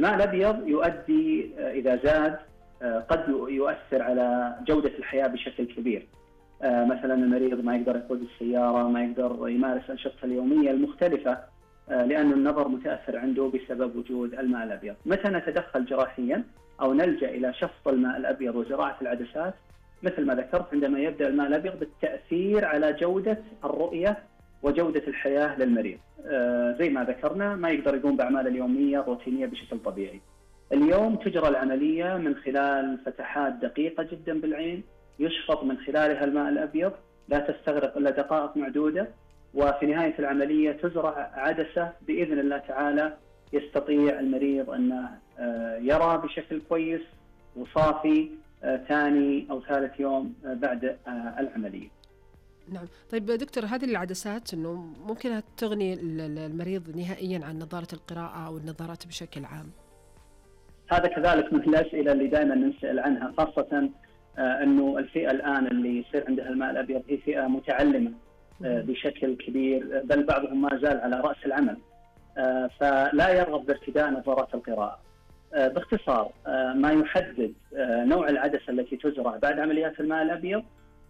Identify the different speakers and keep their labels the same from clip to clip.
Speaker 1: الماء الأبيض يؤدي إذا زاد قد يؤثر على جودة الحياة بشكل كبير. مثلا المريض ما يقدر يقود السيارة، ما يقدر يمارس أنشطته اليومية المختلفة، لأن النظر متأثر عنده بسبب وجود الماء الأبيض. متى نتدخل جراحيا أو نلجأ إلى شفط الماء الأبيض وزراعة العدسات؟ مثل ما ذكرت، عندما يبدأ الماء الأبيض بالتأثير على جودة الرؤية وجودة الحياة للمريض. زي ما ذكرنا ما يقدر يقوم بأعماله اليومية الروتينية بشكل طبيعي. اليوم تجرى العملية من خلال فتحات دقيقة جدا بالعين، يشفط من خلالها الماء الأبيض، لا تستغرق إلا دقائق معدودة، وفي نهاية العملية تزرع عدسة بإذن الله تعالى يستطيع المريض أن يرى بشكل كويس وصافي ثاني أو ثالث يوم بعد العملية.
Speaker 2: نعم. طيب دكتور، هذه العدسات أنه ممكن تغني المريض نهائيا عن نظارة القراءة أو النظارات بشكل عام؟
Speaker 1: هذا كذلك من الأسئلة اللي دائما نسأل عنها، خاصة أنه الفئة الآن اللي يصير عندها الماء الأبيض هي فئة متعلمة بشكل كبير، بل بعضهم ما زال على رأس العمل، فلا يرغب بارتداء نظارات القراءة. باختصار، ما يحدد نوع العدسة التي تزرع بعد عمليات الماء الأبيض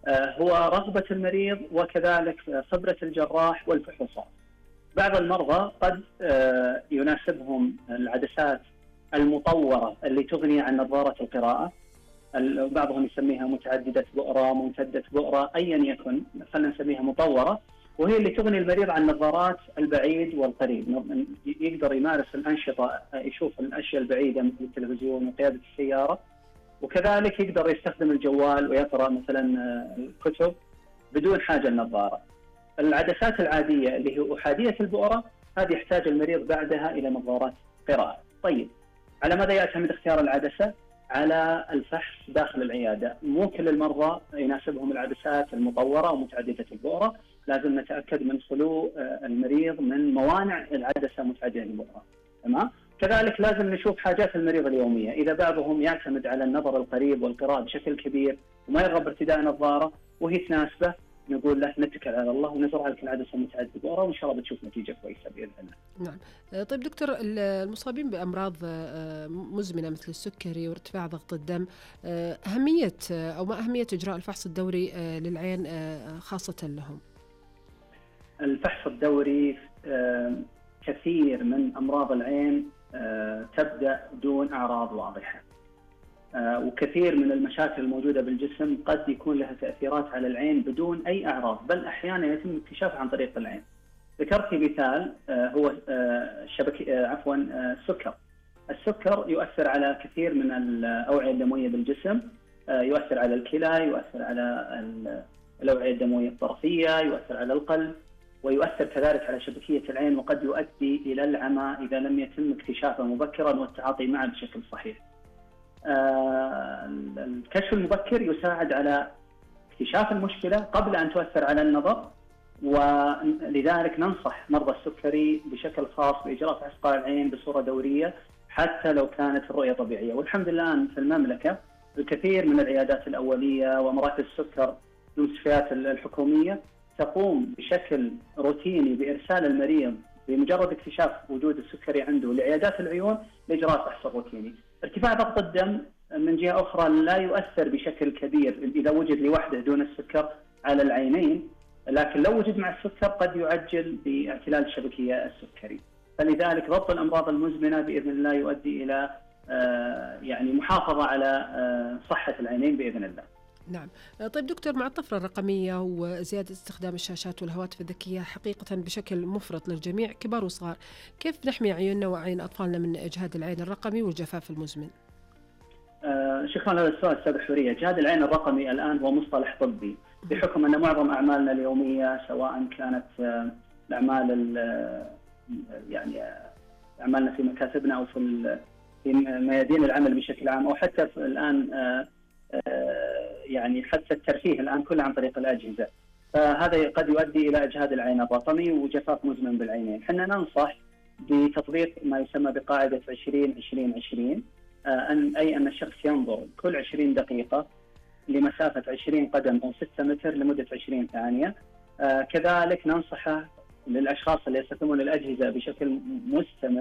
Speaker 1: هو رغبة المريض وكذلك خبرة الجراح والفحوصات. بعض المرضى قد يناسبهم العدسات المطورة اللي تغني عن نظارة القراءة، بعضهم يسميها متعددة بؤرة، ممتدة بؤرة، أيا يكن، خلينا نسميها مطورة، وهي اللي تغني المريض عن نظارات البعيد والقريب، يقدر يمارس الأنشطة، يشوف الأشياء البعيدة مثل التلفزيون وقيادة السيارة، وكذلك يقدر يستخدم الجوال ويقرأ مثلا الكتب بدون حاجة النظارة. العدسات العادية اللي هي أحادية البؤرة هذه يحتاج المريض بعدها إلى نظارات قراءة. طيب، على ماذا يعتمد اختيار العدسة؟ على الفحص داخل العيادة. مو كل المرضى يناسبهم العدسات المطورة ومتعددة البؤرة، لازم نتأكد من خلو المريض من موانع العدسة متعددة البؤرة. تمام؟ كذلك لازم نشوف حاجات المريض اليومية. إذا بعضهم يعتمد على النظر القريب والقراءة بشكل كبير وما يرغب بارتداء نظارة وهي تناسبه، نقول له نتكل على الله ونزرع لك العدسة متعددة البؤرة وإن شاء الله بتشوف نتيجة كويسة بإذن الله.
Speaker 2: نعم. طيب دكتور، المصابين بأمراض مزمنة مثل السكري وارتفاع ضغط الدم، أهمية أو ما أهمية إجراء الفحص الدوري للعين خاصة لهم؟
Speaker 1: الفحص الدوري، كثير من أمراض العين تبدأ دون أعراض واضحة، وكثير من المشاكل الموجودة بالجسم قد يكون لها تأثيرات على العين بدون أي أعراض، بل أحيانا يتم اكتشافها عن طريق العين. ذكرت مثال هو السكر. السكر يؤثر على كثير من الأوعية الدموية بالجسم، يؤثر على الكلى، يؤثر على الأوعية الدموية الطرفية، يؤثر على القلب، ويؤثر كذلك على شبكية العين، وقد يؤدي إلى العمى إذا لم يتم اكتشافه مبكرا والتعاطي معه بشكل صحيح. الكشف المبكر يساعد على اكتشاف المشكلة قبل أن تؤثر على النظر، ولذلك ننصح مرضى السكري بشكل خاص بإجراء فحص قاع العين بصورة دورية حتى لو كانت الرؤية طبيعية. والحمد لله الآن في المملكة الكثير من العيادات الأولية ومراكز السكر المستشفيات الحكومية تقوم بشكل روتيني بإرسال المريض بمجرد اكتشاف وجود السكري عنده لعيادات العيون لإجراء فحص روتيني. ارتفاع ضغط الدم من جهة أخرى لا يؤثر بشكل كبير إذا وجد لوحده دون السكر على العينين، لكن لو وجد مع السكر قد يعجل باعتلال الشبكية السكري. فلذلك ضبط الأمراض المزمنة بإذن الله يؤدي إلى يعني محافظة على صحة العينين بإذن الله.
Speaker 2: نعم. طيب دكتور، مع الطفرة الرقمية وزيادة استخدام الشاشات والهواتف الذكية حقيقة بشكل مفرط للجميع كبار وصغار، كيف نحمي عيوننا وعين أطفالنا من إجهاد العين الرقمي والجفاف المزمن؟
Speaker 1: شكرا على السؤال أستاذ حورية. إجهاد العين الرقمي الآن هو مصطلح طبي بحكم أن معظم أعمالنا اليومية سواء كانت الأعمال يعني أعمالنا في مكاتبنا أو في ميادين العمل بشكل عام، أو حتى الآن يعني حتى الترفيه الآن كله عن طريق الأجهزة، فهذا قد يؤدي إلى إجهاد العين الرقمي وجفاف مزمن بالعينين. حنا ننصح بتطبيق ما يسمى بقاعدة 20-20-20، أن الشخص ينظر كل 20 دقيقة لمسافة 20 قدم أو 6 متر لمدة 20 ثانية. كذلك ننصحه للأشخاص اللي يستخدمون الأجهزة بشكل مستمر